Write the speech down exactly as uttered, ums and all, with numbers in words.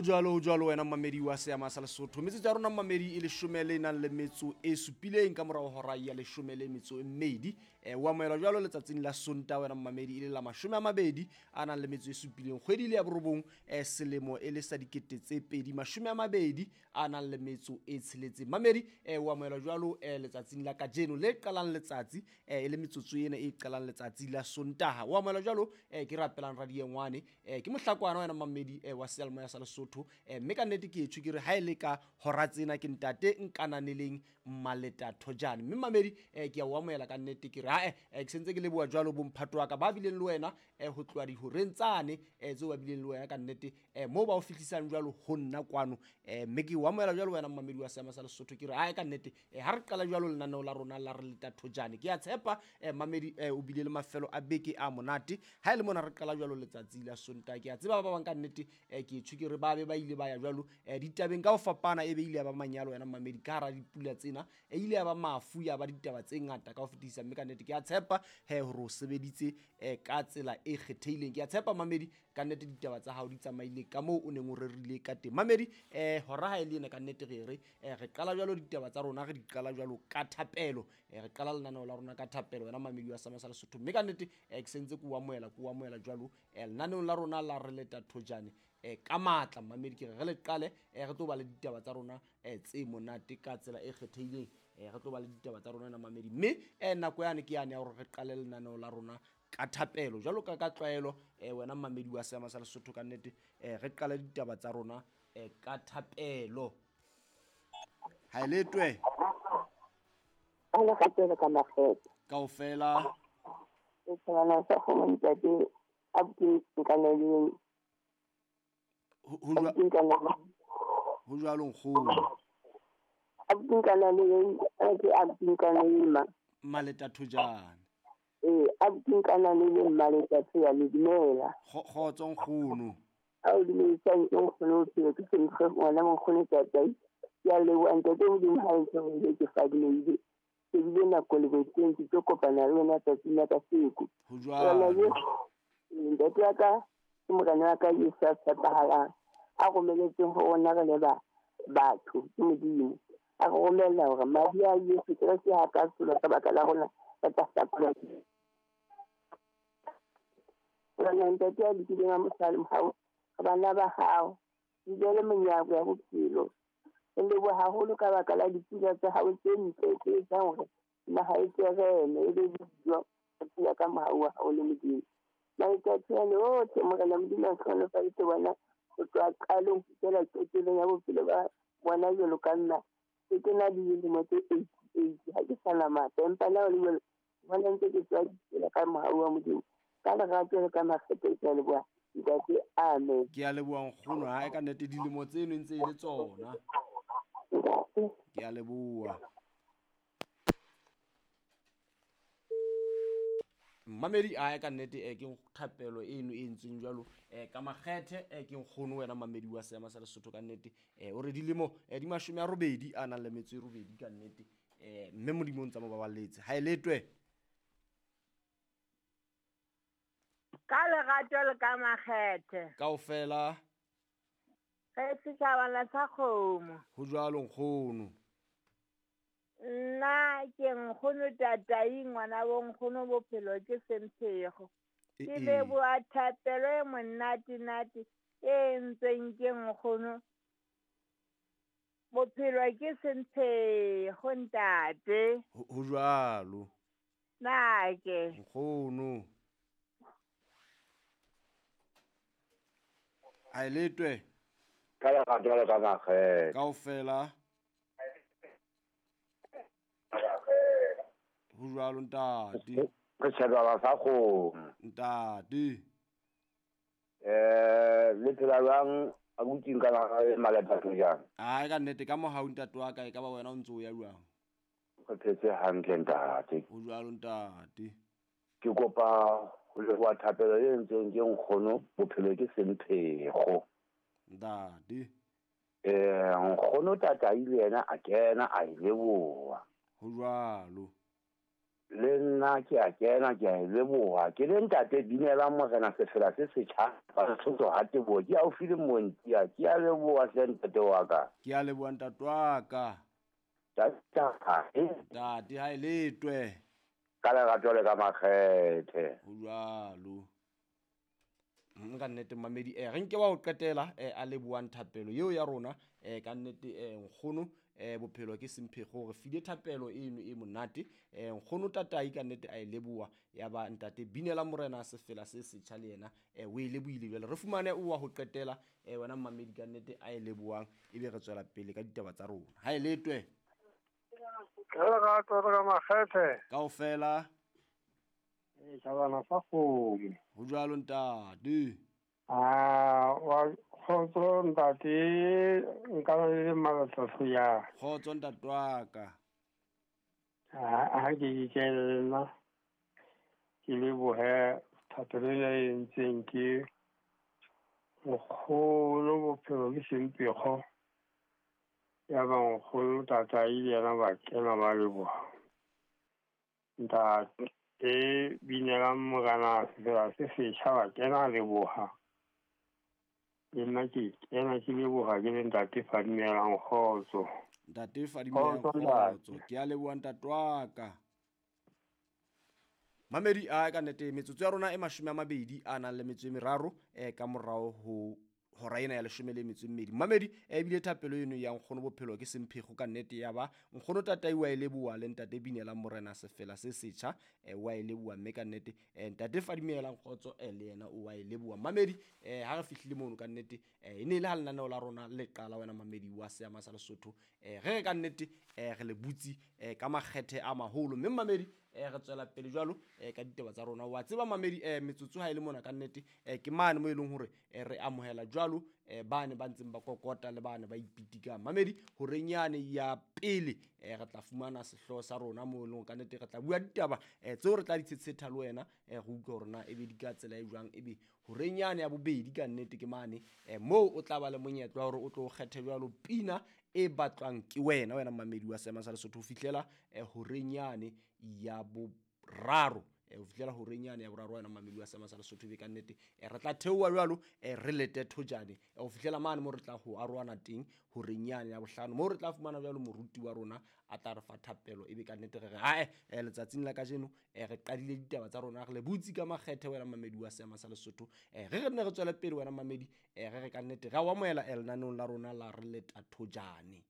Ho jwalo, ho jwalo wena mmamedi wa seama sa Lesotho. Metsotso ya rona mmamedi e leshome le nang le metso e supileng ka morao hora ya leshome le metso e mmedi. Eh, o amohelwa jwalo letsatsing la Sontaha wena mmamedi, e le la mashome a mabedi a nang le metso e supileng kgwedi le ya borobong, eh, selemo e le sa dikete tse pedi mashome a mabedi a nang le metso e tsheletseng. Mamedi, eh, o amohelwa jwalo eh, letsatsing la kajeno le qalang letsatsi, eh, e le metsotso ena e qalang letsatsi la Sontaha. O amohelwa jwalo, eh, ke rapelang radiengwane, eh, ke mohlakwana wena mmamedi, eh, wa seyalemoya sa Lesotho. Eh, mme ka nnete ke etsho ke re ha e le ka hora tsena ke ntate nkananeleng Maleta Thojane. Mme mamedi, eh, ke a o amohela ka nnete, ke re ha eh, ke sentse ke leboha jwalo bomphato wa ka ba bileng le wena, eh, ho tloha dihoreng tsane, eh, tseo ba bileng le wena ka nnete, eh, moo ba o fihlisang jwalo ho nna kwano. Eh, mme ke o amohela jwalo wena mmamedi wa seama sa Lesotho, ke re ha ka nnete, eh, ha re qala jwalo lenaneo la rona la re leta Thojane. Ke a tshepa, eh, mamedi, eh, o bile le mafelo a beke a monate. Ha e le mona re qala jwalo letsatsi la Sontaha, ke a tseba ba bang ka nnete, eh, ke etsho ke re ba be ba ile ba ya jwalo, eh, ditabeng ka ho fapana, e be ile ya ba manyalo wena mmamedi ka hara dipula tsena, e ile ya ba mafu, ya ba ditaba tse ngata ka ho fetisa. Mme ka nnete ke a tshepa he hore o sebeditse, eh, ka tsela e kgethehileng. Ke a tshepa mamedi ka nnete ditaba tsa hao di tsamaile ka moo o neng o rerile ka teng. Mamedi, eh, hora ha e le ena ka nnete re re, eh, re qala jwalo ditaba tsa rona, re di qala jwalo ka thapelo. Eh, re qala lenaneo la rona ka thapelo wena mamedi wa seama sa Lesotho. Mme ka nnete, eh, ke sentse ke o amohela, ke o amohela jwalo, eh, lenaneong la rona la re leta Thojane, eh, ka matla. Mamedi, ke re re le qale, eh, re tlo ba le ditaba tsa rona, eh, tse monate ka tsela e kgethehileng. Eh, re tlo ba le ditaba tsa rona na mamedi, mme, eh, nako yane ke yane ya hore re qale lenaneo la rona ka thapelo jwalo ka ka tlwaelo. Eh, wena mmamedi wa seama sa Lesotho ka nnete, eh, re qale ditaba tsa rona, eh, ka thapelo. Ha e letwe. Ka lerato le ka makgethe. Kaofela. E tshwana sa go ntate a ke nkaneleng. Ho jwa- ho jwalo nkgono. A ke nkaneleng, a ke a ke nkaneleng ma. Maleta Thojane. Eh, a ke nkaneleng Maleta Thojane, dumela. Kgotso nkgono. A o dumedisa nkgono, o ke sentle ngwana nkgono tata. Ke a leboha ntate Modimo ha e ntse ke fadimehile. Ke bile nako le boteng ke tlo kopana le wena tsatsing la kasheko. Ho jwalo. Ntate wa ka ke morena wa ka Jesu a tshepahalang, a romeletseng ho rona re le ba batho ke Modimo. A re romella hore madi a Jesu Kreste ha ka tsholwa ka baka la rona re tla hlakolwa. Morena ntate a lokileng a mosali mohau, re bana ba hao, di le monyako ya bophelo. Re leboha haholo ka baka la dipula tsa hao tse ntle tse etsang hore naha e terene e be dijo, re phela ka mohau wa hao le Modimo. Matsatsi ana otlhe Morena Modimo a hlohonolofaditse bona ho tloha qalong ho fihlela qetellong ya bophelo ba bona jwalo ka nna. Ke ke na le dilemo tse eighty-eight, ha ke sa na matla, empa le ha ho le jwalo, bona ntse ke tswa ditsela ka mohau wa Modimo. Ka lerato le ka makgethe ke a leboha ntate, amen. Ke a leboha nkgono, ha e ka nnete dilemo tseno e ntse e le tsona. Ke a leboha. Mamedi, a ka nnete, eh, ke thapelo eno e entsweng jwalo, eh, ka makgethe, eh, ke nkgono wena mamedi wa seama sa Lesotho ka nnete. Eh, o re dilemo, eh, di mashome a robedi a nang le metso e robedi ka nnete. Eh, mme Modimo o ntse a mo baballetse. Ha e letwe. Ka lerato le ka makgethe. Kaofela. Re setjhabana sa kgomo. Ho jwalo nkgono. Nna ke nkgono tatai ngwana bo nkgono bophelo ke semphego. E, Ke e. leboha thapelo e monate-nate e entsweng ke nkgono. Bophelo ke semphego ntate. Ho, ho jwalo. Na ke. Nkgono. Ha e letwe. Ka lerato le ka makgethe. Kaofela. Ho jwalo ntate. Re tjhebana sa kgomo. Ntate. Eh, le phela jwang abuti nka la Maleta Thojane? Ai ka nnete ka mohau ntate wa ka, e ka ba wena o ntse o ya jwang? Re phetse hantle ntate. Ho jwalo ntate. Ke kopa ho leboha thapelo e entsweng ke nkgono, bophelo ke semphego. Ntate. Eh, nkgono tatai le yena a kena a e leboha. Ho jwalo. Le nna ke a kena ke a e leboha. Ke le ntate Binelang Morena sefela se setjha. Basotho ha teboho ke haufi le Montia. Ke a leboha hle ntate wa ka. Ke a leboha ntate wa ka. Ntate Ntate ha e letwe. Ka lerato le ka makgethe. Ho jwalo. Nka nnete mamedi eh re nke wa ho qetela eh a lebohang thapelo eo ya rona eh ka nnete eh nkgono eh bophelo ke semphego re file thapelo eno e monate eh nkgono tatai ka nnete a e leboha ya ba ntate Binela Morena sefela se setjha le yena eh o e lebohile. Jwale re fumane o wa ho qetela eh wena mamedi ka nnete a e lebohang ebe re tswela pele ka ditaba tsa rona. Ha e letwe. Ka lerato le ka makgethe. Kaofela. E tjhabana sa kgomo. Ho jwalo ntate. Ah, wa kgotso ntate, nka ba le malatsi ya. Kgotso ntate wa ka. Ah, ha ke ke le nna. Ke lebohe thapelo ena e entseng ke nkgono bophelo ke sempego. Ya ba nkgono tatai le yena ba kena ba leboha. Ntate e Binelang Morena sefela se setjha ba kena leboha. Le nna ke kena ke leboha ke le ntate Fadimelang kgotso. Ntate Fadimelang kgotso. Ke a leboha ntate wa ka. Mamedi a ka nnete metsotso ya rona e mashome a mabedi a nang le metso e meraro eh ka morao ho hora ena ya leshome le metso e mmedi. Mamedi e bile thapelo eno ya nkgono bophelo ke semphego ka nnete ya ba nkgono tatai wa e leboha le ntate Binelang Morena sefela se setjha eh wa e leboha mme ka nnete eh ntate Fadimelang kgotso eh le yena o wa e leboha. Mamedi eh ha re fihlile mono ka nnete eh e ne le ha lenaneo la rona le qala wena mamedi wa seama sa Lesotho eh re re ka nnete eh re le butsi eh ka makgethe a maholo mme mamedi eh re tswela pele jwalo eh ka ditaba tsa rona. Wa tseba mamedi eh metsotso ha ile mona ka nnete eh ke mane mo e leng hore eh re amohela jwalo eh bane ba ntseng ba kokota le bane ba ipitikang. Mamedi horeng yane ya pele eh re tla fumana sehlooho sa rona mo e leng ka nnete re tla bua ditaba eh tseo re tla di tshetsheta le wena eh re utlwe hore na ebe di ka tsela e jwang. Ebe horeng yane ya bobedi ka nnete ke mane eh moo o tla ba le monyetla wa hore o tlo kgethe jwalo pina e batlwang ke wena wena mamedi wa seema sa Lesotho ho fihlela eh horeng yane ya boraro eh ho fihlela horeng yane ya boraro wena mamedi wa seema sa Lesotho be ka nnete eh re tla theoha jwalo eh re lete thojane eh ho fihlela mane mo re tla ho arohana teng horeng yane ya bohlano mo re tla fumana jwalo moruti wa rona a tla re fa thapelo ebe ka nnete re re hae eh letsatsing la kajeno eh re qadile ditaba tsa rona re le butsi ka makgethe wena mamedi wa seema sa Lesotho eh re re nne re tswele pele wena mamedi eh re re ka nnete ra o amohela eh lenaneong la rona la re leta thojane.